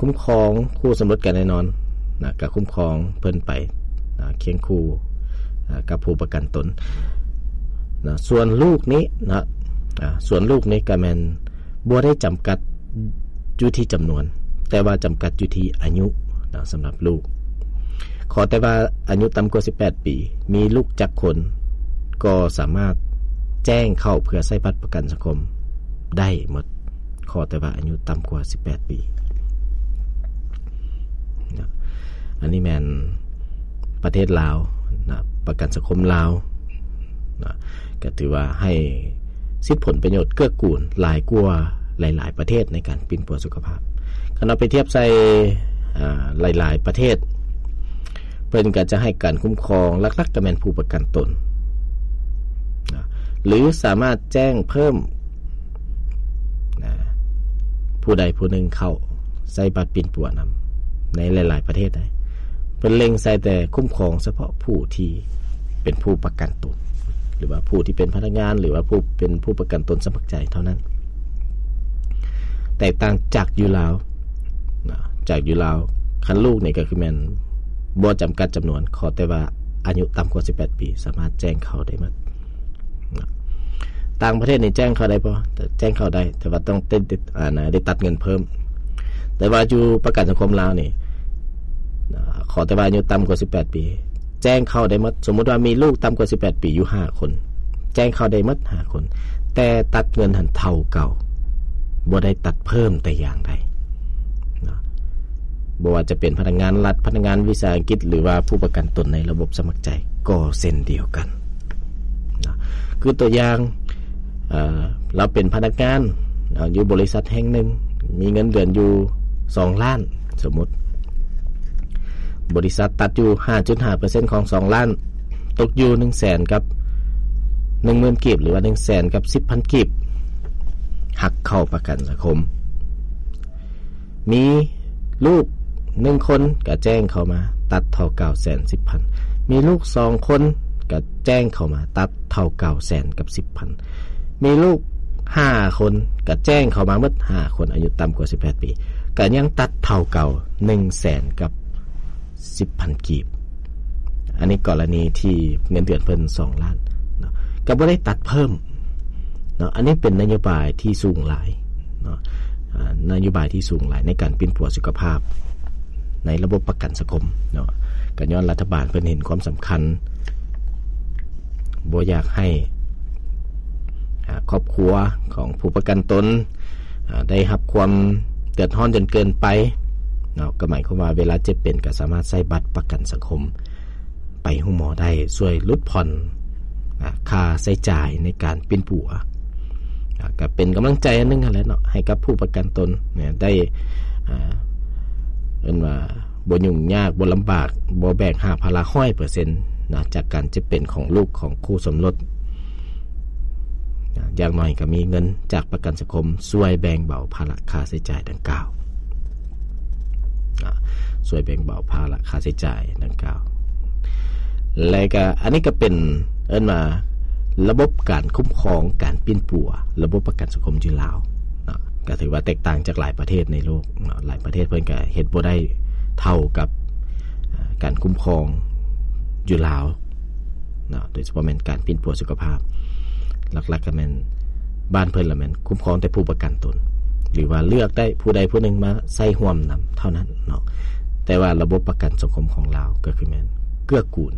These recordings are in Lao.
ຄຸ້ມຄອງຄູ່ສົມລົດກັນແນ່ນອນນະ ກໍຄຸ້ມຄອງເພິ່ນໄປນະ ຄຽງຄູ່ນະ ກັບຜູ້ປະກັນຕົນນະ. ສ່ວນລູກນີ້ນະ ອາ ສ່ວນລູກນີ້ກໍແມ່ນບໍ່ໄດ້ຈຳກັດຢູ່ທີ່ຈຳນວນ ແຕ່ວ່າຈຳກັດຢູ່ທີ່ອາຍຸນະ ສຳລັບລູກ. ຂໍແຕ່ວ່າອາຍຸຕ່ຳກວ່າສິບແປດປີ ມີລູກຈັກຄົນ ກໍສາມາດແຈ້ງເຂົ້າເພື່ອໃຊ້ບັດປະກັນສັງຄົມໄດ້ໝົດ. ຂໍແຕ່ວ່າອາຍຸຕ່ຳກວ່າສິບແປດປີນະ. ອັນນີ້ແມ່ນປະເທດລາວນະ ປະກັນສັງຄົມລາວນະ ກໍຖືວ່າໃຫ້ສິດຜົນປະໂຫຍດເກື້ອກູນຫຼາຍກວ່າຫຼາຍໆປະເທດໃນການປິ່ນປົວສຸຂະພາບ. ຄັນເອົາໄປທຽບໃສ່ ອາ ຫຼາຍໆປະເທດ ເພິ່ນກໍຈະໃຫ້ການຄຸ້ມຄອງຫຼັກໆກໍແມ່ນຜູ້ປະກັນຕົນນະ ຫຼືສາມາດແຈ້ງເພີ່ມນະ ຜູ້ໃດຜູ້ໜຶ່ງເຂົ້າໃຊ້ບັດປິ່ນປົວນຳ. ໃນຫຼາຍໆປະເທດໃດ ເພິ່ນເລັງໃສ່ແຕ່ຄຸ້ມຄອງສະເພາະຜູ້ທີ່ເປັນຜູ້ປະກັນຕົນ ຫຼືວ່າຜູ້ທີ່ເປັນພະນັກງານ ຫຼືວ່າຜູ້ເປັນຜູ້ປະກັນຕົນສະໝັກໃຈເທົ່ານັ້ນ. ແຕກຕ່າງຈາກຢູ່ລາວນະ ຈາກຢູ່ລາວ ຄັນລູກນີ້ກໍຄືແມ່ນບໍ່ຈຳກັດຈຳນວນ ຂໍແຕ່ວ່າອາຍຸຕ່ຳກວ່າສິບແປດປີ ສາມາດແຈ້ງເຂົ້າໄດ້ໝົດນະ. ຕ່າງປະເທດນີ້ແຈ້ງເຂົ້າໄດ້ບໍ່? ແຈ້ງເຂົ້າໄດ້ ແຕ່ວ່າຕ້ອງໄດ້ ໄດ້ ອັນນະ ໄດ້ຕັດເງິນເພີ່ມ. ແຕ່ວ່າຢູ່ປະກັນສັງຄົມລາວນີ້ນະ ຂໍແຕ່ວ່າອາຍຸຕ່ຳກວ່າສິບແປດປີ ແຈ້ງເຂົ້າໄດ້ໝົດ. ສົມມຸດວ່າມີລູກຕ່ຳກວ່າສິບແປດປີຢູ່ຫ້າຄົນ ແຈ້ງເຂົ້າໄດ້ໝົດຫ້າຄົນ ແຕ່ຕັດເງິນຫັ້ນເທົ່າເກົ່າ ບໍ່ໄດ້ຕັດເພີ່ມແຕ່ຢ່າງໃດເນາະ. ບໍ່ວ່າຈະເປັນພະນັກງານລັດ, ພະນັກງານວິສາຫະກິດ ຫຼືວ່າຜູ້ປະກັນຕົນໃນລະບົບສະໝັກໃຈກໍເຊັ່ນດຽວກັນເນາະ. ຄືຕົວຢ່າງ ເອີ ລາວເປັນພະນັກງານ ເອີ ຢູ່ບໍລິສັດແຫ່ງໜຶ່ງ ມີເງິນເດືອນຢູ່ສອງລ້ານ ສົມມຸດ ບໍລິສັດຕັດຢູ່ຫ້າຈຸດຫ້າເປີເຊັນຂອງສອງລ້ານ ຕົກຢູ່ໜຶ່ງແສນກັບໜຶ່ງໝື່ນກີບ ຫຼືວ່າໜຶ່ງແສນກັບສິບພັນກີບ ຫັກເຂົ້າປະກັນສັງຄົມ. ມີລູກໜຶ່ງຄົນກໍແຈ້ງເຂົ້າມາ ຕັດເທົ່າເກົ່າແສນສິບພັນ. ມີລູກສອງຄົນກໍແຈ້ງເຂົ້າມາ ຕັດເທົ່າເກົ່າແສນກັບສິບພັນ. ມີລູກຫ້າຄົນກໍແຈ້ງເຂົ້າມາໝົດຫ້າຄົນ ອາຍຸຕ່ຳກວ່າສິບແປດປີ ກໍຍັງຕັດເທົ່າເກົ່າໜຶ່ງແສນກັບສິບພັນກີບ. ອັນນີ້ກໍລະນີທີ່ເງິນເດືອນເພິ່ນສອງລ້ານເນາະ ກໍບໍ່ໄດ້ຕັດເພີ່ມເນາະ. ອັນນີ້ເປັນນະໂຍບາຍທີ່ສູງຫຼາຍເນາະ ອາ ນະໂຍບາຍທີ່ສູງຫຼາຍໃນການປິ່ນປົວສຸຂະພາບໃນລະບົບປະກັນສັງຄົມເນາະ. ກໍຍ້ອນລັດຖະບານເພິ່ນເຫັນຄວາມສຳຄັນ ບໍ່ຢາກໃຫ້ ອາ ຄອບຄົວຂອງຜູ້ປະກັນຕົນ ອາ ໄດ້ຮັບຄວາມເດືອດຮ້ອນຈົນເກີນໄປເນາະ. ກໍໝາຍຄວາມວ່າເວລາເຈັບເປັນກໍສາມາດໃຊ້ບັດປະກັນສັງຄົມໄປໂຮງໝໍໄດ້ ຊ່ວຍຫຼຸດຜ່ອນ ອາ ຄ່າໃຊ້ຈ່າຍໃນການປິ່ນປົວ ອາ ກໍເປັນກຳລັງໃຈອັນໜຶ່ງຫັ້ນແຫຼະເນາະ ໃຫ້ກັບຜູ້ປະກັນຕົນເນຍ ໄດ້ ອາ ເອີ້ນວ່າ ບໍ່ຫຍຸ້ງຍາກ ບໍ່ລຳບາກ ບໍ່ແບກຫາບພາລະຮ້ອຍເປີເຊັນນະ ຈາກການເຈັບເປັນຂອງລູກຂອງຄູ່ສົມລົດນະ. ຢ່າງໜ້ອຍກໍມີເງິນຈາກປະກັນສັງຄົມຊ່ວຍແບ່ງເບົາພາລະຄ່າໃຊ້ຈ່າຍດັ່ງກ່າວນະ ຊ່ວຍແບ່ງເບົາພາລະຄ່າໃຊ້ຈ່າຍດັ່ງກ່າວ. ແລະກະ ອັນນີ້ກໍເປັນ ເອີ້ນວ່າ ລະບົບການຄຸ້ມຄອງການປິ່ນປົວ ລະບົບປະກັນສັງຄົມຢູ່ລາວເນາະ ກໍຖືວ່າແຕກຕ່າງຈາກຫຼາຍປະເທດໃນໂລກເນາະ. ຫຼາຍປະເທດເພິ່ນກໍເຮັດບໍ່ໄດ້ເທົ່າກັບ ອາ ການຄຸ້ມຄອງຢູ່ລາວເນາະ ໂດຍສະເພາະແມ່ນການປິ່ນປົວສຸຂະພາບ. ຫຼັກໆກໍແມ່ນບ້ານເພິ່ນລະແມ່ນຄຸ້ມຄອງແຕ່ຜູ້ປະກັນຕົນ ຫຼືວ່າເລືອກໄດ້ຜູ້ໃດຜູ້ໜຶ່ງມາໃຊ້ຮ່ວມນຳເທົ່ານັ້ນເນາະ. ແຕ່ວ່າລະບົບປະກັນສັງຄົມຂອງລາວກໍຄືແມ່ນເກື້ອກູນ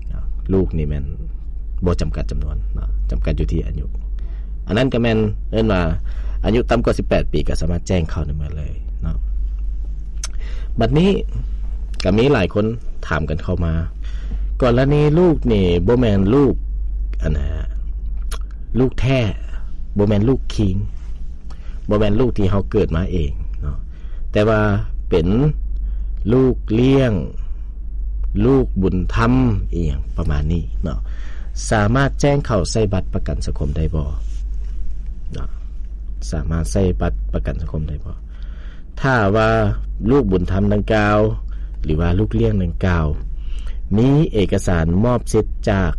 ເນາະ ລູກນີ້ແມ່ນບໍ່ຈຳກັດຈຳນວນເນາະ ຈຳກັດຢູ່ທີ່ອາຍຸ. ອັນນັ້ນກໍແມ່ນເອີ້ນວ່າອາຍຸຕ່ຳກວ່າສິບແປດປີກໍສາມາດແຈ້ງເຂົ້າໄດ້ໝົດເລີຍເນາະ. ບັດນີ້ກໍມີຫຼາຍຄົນຖາມກັນເຂົ້າມາ ກໍລະນີລູກນີ້ບໍ່ແມ່ນລູກ ອັນນ່າ ລູກແທ້ ບໍ່ແມ່ນລູກຄີງ ບໍ່ແມ່ນລູກທີ່ເຮົາເກີດມາເອງເນາະ ແຕ່ວ່າເປັນລູກລ້ຽງ ລູກບຸນທຳ ອີ່ຫຍັງປະມານນີ້ເນາະ ສາມາດແຈ້ງເຂົ້າໃສ່ບັດປະກັນສັງຄົມໄດ້ບໍ່ເນາະ? ສາມາດໃຊ້ບັດປະກັນສັງຄົມໄດ້ບໍ່? ຖ້າວ່າລູກບຸນທຳດັ່ງກ່າວ ຫຼືວ່າລູກລ້ຽງດັ່ງກ່າວ ມີເອກະສານມອບສິດຈາກ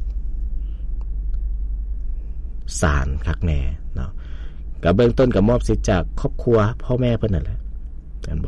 ສານຄັກແນ່ເນາະ ກໍເບື້ອງຕົ້ນກໍມອບສິດຈາກຄອບຄົວພໍ່ແມ່ເພິ່ນນັ້ນແຫຼະ ແມ່ນບໍ່?